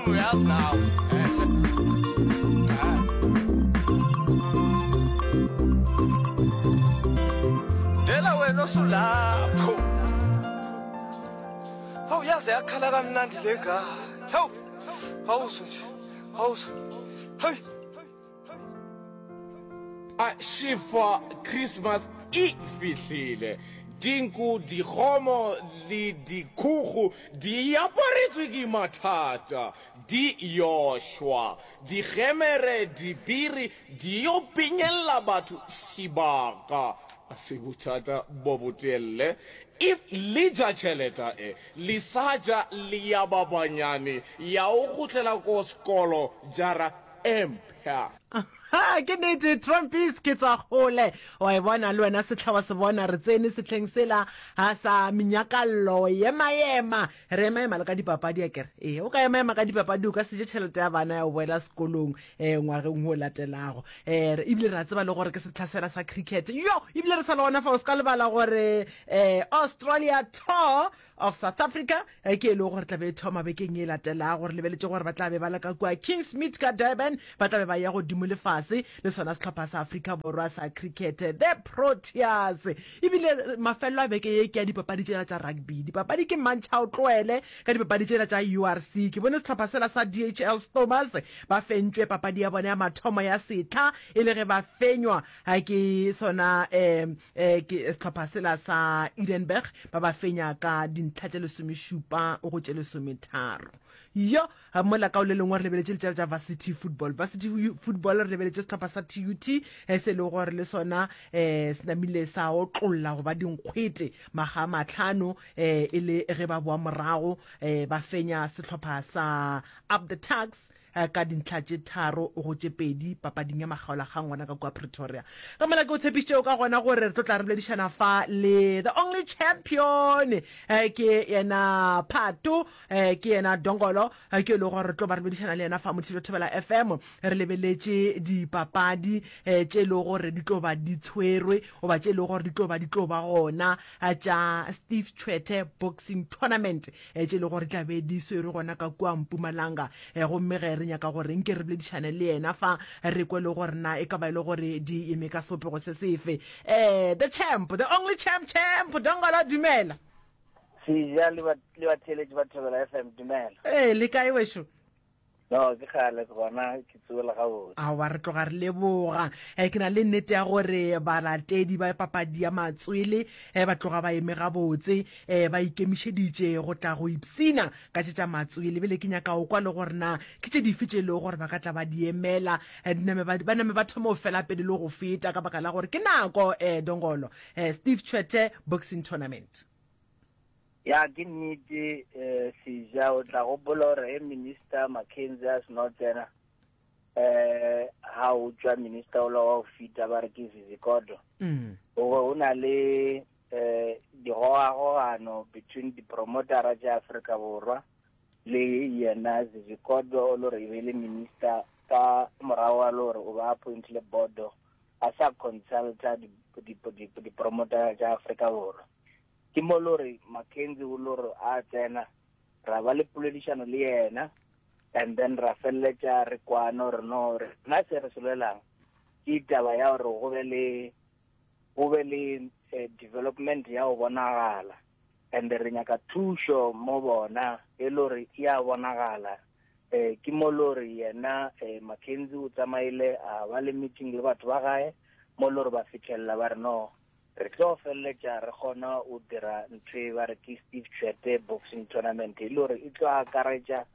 Uyazi nawe. Eh. Dela wena osulapho. Hawu yaze yakhala kamnandi le ngane. Hawu. Awuzwe nje. Awuzwe. Hey. A Šifa Christmas e fihlile. Dinku, dikgomo le dikhugu di aparetswe ke mathata, di yo šwa. Digemere, dibiri di yo pinyella batho sebaka. A se bothata bo botelle. If le ja tšheleta e, le sa ja le ya ba banyane, ya o kgutlela ko sekolo jara e mpsha. Ha, ke nnete, Trumpies ke tswa kgole. Wa e bona le wena sehla wa se bona, re tsene sehleng sela ha sa menyakallo, ema-ema. Re ema-ema le ka dipapadi akere? Ee, o ka ema-ema ka dipapadi o ka se je tšhelete ya bana ya go boela sekolong eh, ngwageng o latelago. Eh, ebile re a tseba le gore ke sehla sela sa cricket. Yo, ebile re sa le gona fa o se ka lebala gore eh, Australia tour of South Africa eh, ke e lego gore tla be e thoma bekeng e latelago. Re lebeletše gore ba tla be ba le ka kua Kingsmead ka Durban, ba tla be ba ya godimo le fase le sona sehlopha sa Afrika Borwa sa cricket the Proteas. Ebile mafelelo a beke ye ke ya dipapadi tšela tša rugby. Dipapadi ke mantšha o tloele ka dipapadi tšela tša URC. Ke bone sehlopha sela sa DHL Stormers ba fentšwe papadi ya bona ya mathomo ya sehla e le ge ba fenywa ke sona um ke sehlopha sela sa Edenburg ba ba fenya ka dintlha tše lesomešupa go tše lesometharo. Yo mola ka o le lengwe re lebeletše letšatši tša varsity football. Varsity football re lebeletše sehlopha sa TUT eh, se e lego gore le sona eh, se namile sa otlolla go ba dinkgwete maga a mahlano eh, e le ge ba boa morago eh, ba fenya sehlopha sa Up the Tugs ka dintlha tše tharo go tše pedi papading ya makgaolakgang gona ka kua Pretoria. Ka mola ke o tshepišitšego ka gona gore re tlo tla re boledišana fa le the only champion ke yena Phato, ke yena Dongolo, ke e lego gore re tlo ba re boledišana le yena fa Mothilo Thobela FM re lebeletše dipapadi tše e lego gore di tlo ba di tshwerwe goba tše e lego gore di tlo ba di tlo ba gona tša Steve Tshwete Boxing Tournament. eh, tše e le gore tla be di swerwe gona ka kua Mpumalanga. Eh, gomme ge re nyaka gore nke re boledišane le yena fa re kwe le gore na e ka ba e le gore di eme ka sebopego se sefe. Eh, the champ, the only champ, champ, Dongolo, dumela. Seja le batheeletši ba Thobela FM, dumela. Ee, le kae wešo? No, ke kgale ke gona ke tsogela gabotse. Aowa, re tloga re leboga. Eh, ke na le nnete ya gore balatedi ba papadi ya matswele eh, ba tloga ba eme gabotse, eh, ba ikemišeditše go tla go ipshina ka tše tša matswele. Bjale ke nyaka go kwa le gore na ke tše dife tše e lego gore ba ka tla ba di emela, eh, di name ba, ba name ba thome go fela pele le go feta ka baka la gore ke nako, eh, Dongolo, eh, Steve Tshwete Boxing Tournament. Ya ke nnete eh, Seja o tla gopola gore he minister Mackenzie a seno tsena eh ha o tswa minister ola wa go fita ba re ke Zizikodo mm. gore o na le eh digogagogano between dipromotera tša Afrika Borwa le yena Zizikodo o le gore e be le minister ka morago ga le gore o ba appointile bodo a sa consulta dipromotera tša Afrika Borwa Ke mo lo re Mackenzie o lo re a tsena, ra ba le poledišano le yena, and then ra feleletša re kwana gore no rena se re se lwelang ke taba ya gore go be le go be le eh, development ya go bonagala and re nyaka thušo mo bona e le gore e a bonagala eh ke mo lo re yena eh, Mackenzie o tsamaile a ba le meeting le batho ba gae mo lo re ba fitlhelela ba re no Re tlo feleletša re kgona go dira ntho e ba re ke Steve Tshwete Boxing Tournament e le gore e tlo akaretša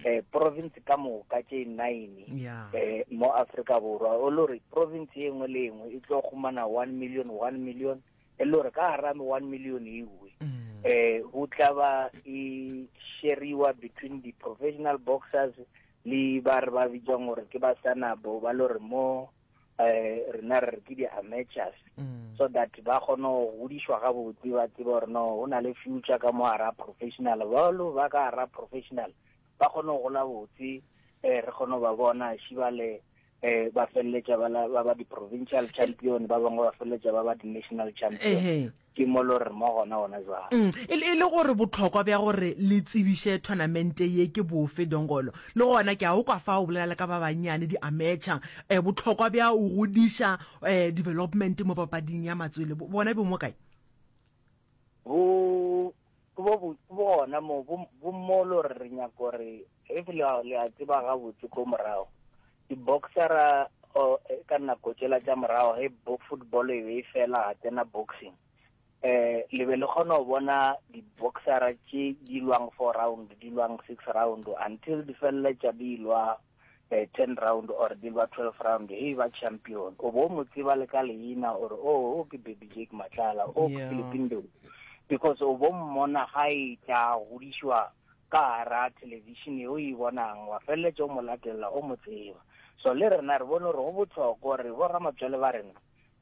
eh province ka moka tše nine yeah. eh mo Afrika Borwa o le gore province e nngwe le e nngwe e tlo humana 1 million 1 million e le gore ka gara 1 million ewe mm. eh go tla ba e sheriwa between the professional boxers le ba re ba bitsang gore ke ba sanabo ba le gore mo eh rena re re ke di-amateurs mm. so that ba kgone go godišwa gabotse ba tsebe gore no go na le future ka mo gara professional balo ba ka gara professional ba kgone go gola botse um re kgone go ba bona šibale um ba feleletša ba ba di-provincial champion ba bangwe ba feleletša ba ba di-national champion Ehe. Ke mo lo re mo gona gona jwale. Mm, e le, e le gore bohlokwa bja gore le tsebiše thonamente ye ke bofe, Dongolo? Le gona ke a o kwa fa o bolela le ka ba bannyane, di-amateur. Eh, bohlokwa bja go godiša eh, development mo papading ya matswele, bo, bona bo mo kae? Bo, ke bo, bo, ke bo gona mo, bo, bo mo lo re re nyaka gore, if le a, le a tseba gabotse ko morago, di-boxera oh, eh, ka nako tšela tša morago ge bo football e be e fela ga tsena boxing eh le be le kgona go bona di-boxera tše di lwang four round di lwang six round until di feleletša di lwa eh, ten round or di lwa 12 round he ba champion o bo mo tseba le ka leina or oh o ke baby jake matlala o ke yeah. Philippine because o bo mmona ga e tla godišwa ka gara thelebišene o e bonang, wa feleletša o mo latelela, o mo tseba. So le rena re bone gore go bohlokwa gore boramatswele ba rena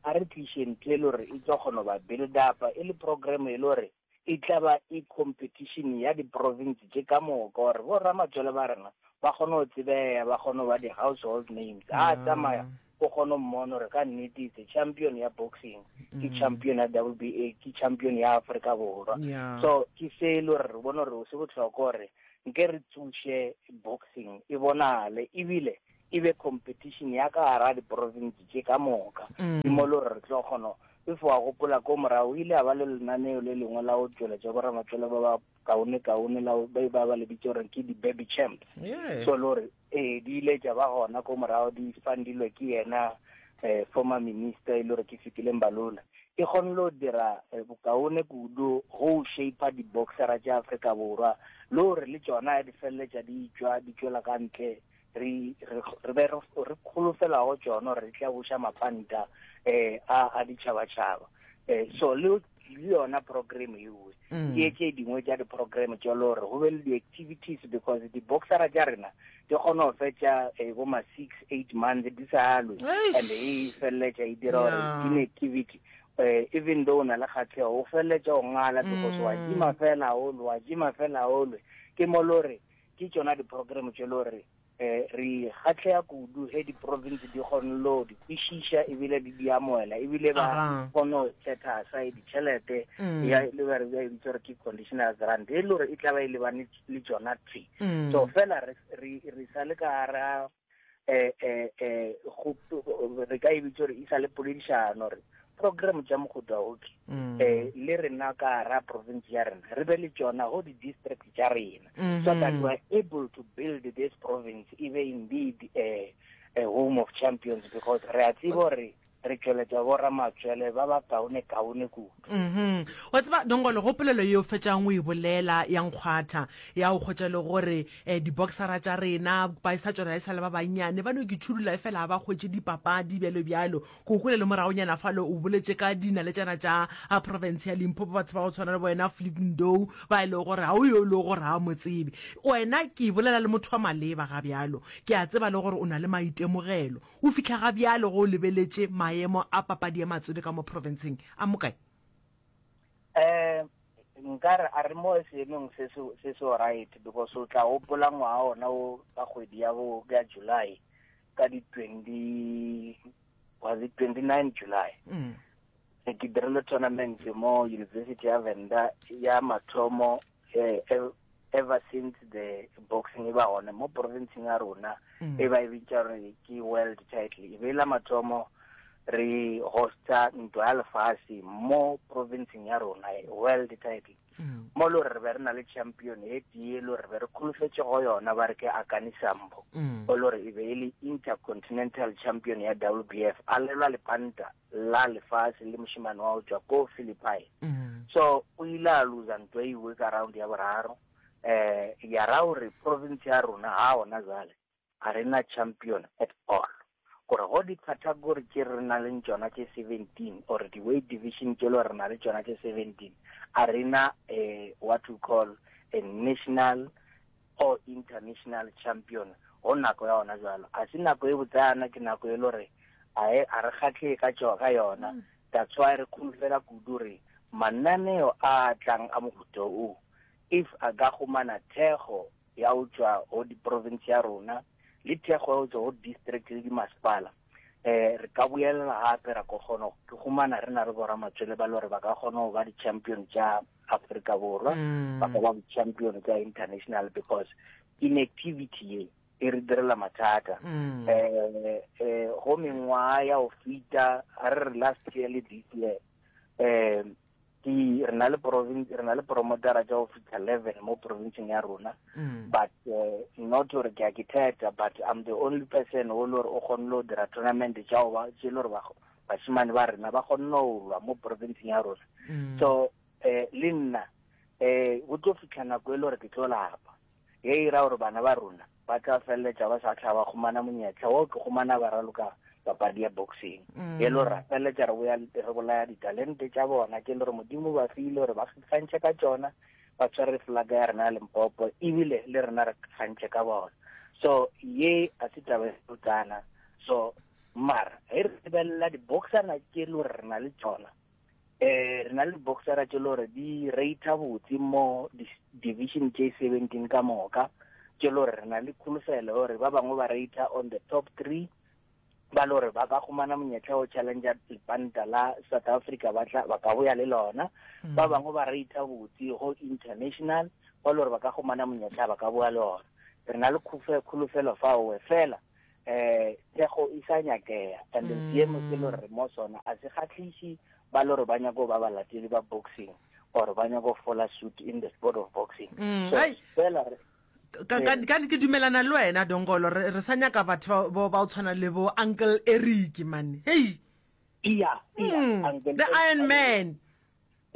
a re tliše ntho e le gore e tlo kgona go ba build up e le program e le gore e tla ba e competition ya di-province tše ka moka gore boramatswele ba rena ba kgone go tsebeya, ba kgone go ba di-household names. A tsamaya o kgone go mmona gore ka nnete it's a champion ya boxing ke mm. champion ya WBA ke champion ya Afrika Borwa yeah. so ke se e le gore re bone gore se bohlokwa gore nke re tsoše boxing e bonale ebile e be competition ya ka gara diprovince tše ka moka mm. ke mo le gore re tlo kgona if wa gopola ko morago o ile a ba le lenaneo le lengwe la go tšweletša boramatswele ba ba kaone kaone la ba ba ba le bitsa gore ke di-baby champs yeah. so le gore Ee, di ile tša ba gona ko morago di fundilwe ke yena eh, former minister e le gore ke Fikile Mbalula. E kgonne go dira eh, bokaone kudu go shaper di-boxera tša Afrika Borwa le gore le tšona di feleletša di tšwa di tšwela ka ntle re re re be re re kholofela go tšona gore di tla buša mapanta eh a a ditšhabatšhaba eh so le le yona program ewe mm. ke tše dingwe tša di-program tša le gore go be le di-activities because di-boxera tša rena di kgona go fetša eh, bo ma six eight months di sa lwe and e feleletša e dira gore inactivity eh, even though o na le kgatlhego o feleletša o ngala because wa mm. jima fela o lwe wa jima fela o lwe ke mo le gore ke tšona di-program tše le gore Eh, re kgatlhega kudu ge di-province di kgone lo di kwešiša ebile di di amoela ebile ba kgone go setha aside ditšhelete mm. ya le ba re ba e bitsa gore ke conditional grant e le gore e tla ba e lebane le tsona thwi mm. so fela re re sa le ka gara eh eh eh re ka e bitsa gore e sa le poledišano re program tša mohuta oke mm. eh le rena ka ra province ya rena re be le tšona go di-district tša rena mm -hmm. so that we are able to build this province e be indeed a, a home of champions because re a tseba gore re tšweletša boramatswele ba ba kaone kaone kudu mm wa tseba dongolo go polelo yeo fetšang o e bolela ya nkgwatha ya go kgotša le gore um di-boxera tša rena ba e sa tšona e sa le ba bannyane ba no ke tšhudula e fela ga ba kgwetše dipapadi bjalo bjalo Ke kwele le moragonyana fale o boletše ka dinaletšana tša profense ya Limpopo, batho ba go tshwana le wena Flip Ndou, ba e lego gore ga o yo e lego gore ga o mo tsebe. Wena ke bolela le motho wa maleba ga bjalo. Ke a tseba le gore o na le maitemogelo. O fihla ga bjalo ge o lebeletše maemo a papadi ya matswele ka mo profenseng, a mo kae? Um nka re a re mo seemong se se se right because o tla gopola ngwaga ona o ka kgwedi ya bo ya July ka di 20 was it 29 July mm. ke dirile tournament mo University ya Venda ya mathomo eh, ever since the boxing e ba gona mo provinceng ya rona mm. e ba e bitša gore ke world title e be la mathomo re hosta ntwa ya lefase mo provinceng ya rona world title mm. mo le gore re be re na le champion e tee le gore re be re kholofetše go yona ba re ke akani sambo mm. o le gore e be e le intercontinental champion ya w b f a lelwa lepanta la lefase le mošemane wa go tšwa ko philippine mm. so o ile a losa ntwa e iwe ka round ya boraro um ya ra gore province ya rona ga ona jale ga re na champion at all gore go di-category tše re na leng tšona tše 17 or di-weight division tše le re na le tšona tše 17 a re na um what we call a national or international champion go nako ya gona jalo a se nako e botsana ke nako e le gore a e, a re kgatlhee ka ka yona mm. that's why re kholofela kudu re mananeo a tlang a mohuta o if a ka gomana thekgo ya go tšwa go diprovince ya rona le thekgo ya go tšwa go district le dimasepala. Eh re ka boelela gape ra ko kgona ke humana re na le boramatswele ba le gore ba ka kgona go ba di-champion tša Afrika Borwa, ba ka ba di-champion tša international because inactivity ye e re direla mathata. Eh eh go mengwaga ya go feta a re re last year le this year eh ke re na le province re na le promotera tša go fihla 11 mo provinceng ya rona mm. but uh, not gore ke a ke theta but i'm the only person o le gore o kgonne go dira tournament tša go ba tše le gore bashimane ba rena ba kgonne go lwa mo provinceng ya rona mm. so eh le nna eh go tlo fihla nako e le gore ke tlo lapa ye e ra gore bana ba rona ba tla feleletša ba sa tlha ba humana monyetla wo ke humana ba raloka papadi ya boxing mm. e le gore ra feleletša re boya re bolaya ditalente tša bona ke le gore modimo ba file gore ba kgantšhe ka tšona ba tshware flaga ya rena ya Limpopo ebile le rena re kgantšhe ka bona so ye a se taba e botsana so mara ge re lebelela di-boxana tše le gore re na le tšona eh re na le boxera tše le gore di rata botse mo division tše 17 ka moka tše le gore re na le kholofelo gore ba bangwe ba rata on the top 3 ba le gore ba ka humana monyetla o challenger lepanta la South Africa ba tla ba ka boya le lona mm. ba bangwe ba rata botse go international ba le gore ba ka humana monyetla ba ka boya le ona re na le kholofelo fao fela eh thekgo e sa nyakega and mm. seemo se le re mo sona a se kgatlhiše ba le gore ba nyako ba balatedi ba boxing or ba nyako fola suit in the sport of boxing mm. so fela re ka ka ka ke dumelana le wena dongolo re re sa nyaka batho ba ba o tshwana le bo uncle Eric man hey iya iya mm. uncle the iron man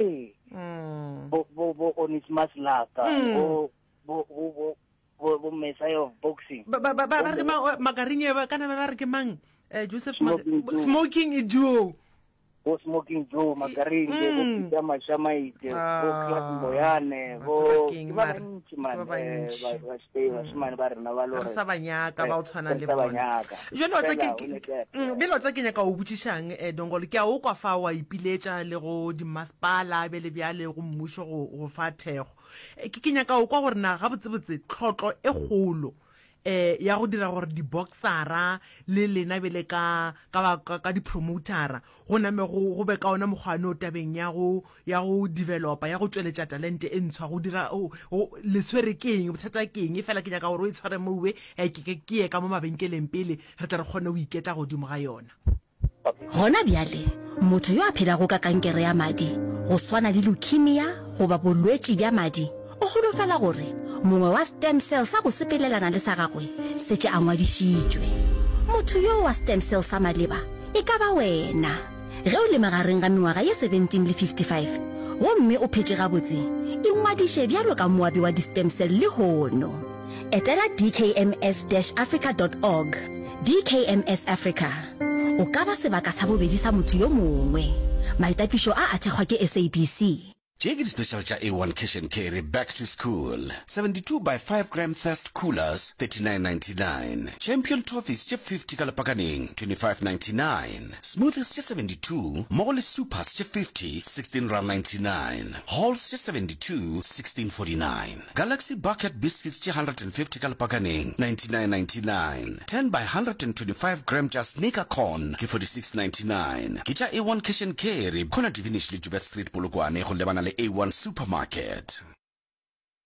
ee mm. bo bo bo Onesimus Laka mm. bo bo bo bo bo messiah of boxing ba ba ba ba re ke mang makarinye ba kana ba re ke mang eh Joseph smoking, smoking Joe bo smoking Joe Makaringe bo mm. Peter Mashamaite bo ah. Clark Moyane bo ke ba bantši man eh, ba stay mm. bashimane ba rena ba lore re sa ba nyaka ba o tshwana le bona jalo tsa ke mm, bjale tsa ke nyaka o botšišang eh Dongolo ke a o kwa fa wa ipiletša le go di masepala bjale bjale go mmušo go go fa thego Ke, ke nyaka go kwa gore na gabotsebotse tlhotlo e kgolo um ya go dira gore diboksara le lena bjale ka, ka, ba, ka, ka dipromotara go name go, go be ka ona mokgwa no tabeng ya go, ya go developa, ya go tšweletša talente e ntshwa, go dira, go, go, le tshwere ke eng, bothata ke eng? Efela ke nyaka gore o e tshware mowe, eh, ke, ke, ke ye ka mo mabenkeleng pele re tle re kgone go iketla godimo ga yona. Gona bjale, motho yo a phelago ka kankere ya madi, go swana le leukemia goba bolwetši bja madi, o holofela gore mongwe wa stem cell sa go sepelelana le sa gagwe setše a ngwadišitšwe. Motho yoo wa stem cell sa maleba e ka ba wena. Ge o le magareng ga mengwaga ye 17 le 55 gomme o phetše gabotse, ingwadiše bjalo ka moabi wa di-stem cell lehono. Etela dkms-africa dot org, DKMS Africa. O ka ba sebaka sa bobedi sa motho yo mongwe. Maitapišo a a thekgwa ke SABC. Tše ke di-special tša A1 Cash and Carry Back to School, 72 by 5 gram Thirst Coolers, 39.99, Champion Toffees tše 50 ka lepakaneng, 25.99, Smoothies tše 72 mmogo le Supers tše 50, 16.99, Halls tše 72, 16.49. Galaxy Bucket Biscuits tše 150 ka lepakaneng, 99.99. 10 by 125 gram tša Sneaker Corn ke 46.99. Ke tša A1 Cash and Carry, khona Divinish le Joubert Street Polokwane go lebana le A1 Supermarket.